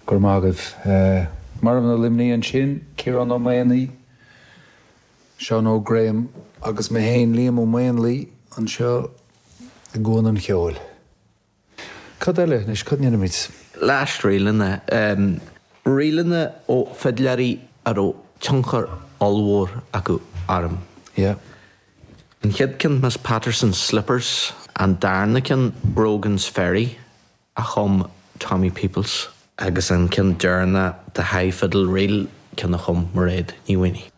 Go raibh maith agaibh. Marbhna Luimnigh ansin, Ciarán Ó Maonaigh, Seán Óg Graham agus mé féin, Liam Ó Maonlaí, anseo i gCuan an Cheoil. Cad eile anois? Cad a ndéanfaimid? Last ríleanna. Ríleanna ó fidléirí a raibh tionchar ollmhór acu orm. Yeah. An chéad ceann Miss Patterson's Slippers, an darna ceann Brogan's Ferry a chum Tommy Peoples. Agus an ceann deireanach The High Fiddle Reel, ceann a chum Mairéad Ní Mhaonaigh.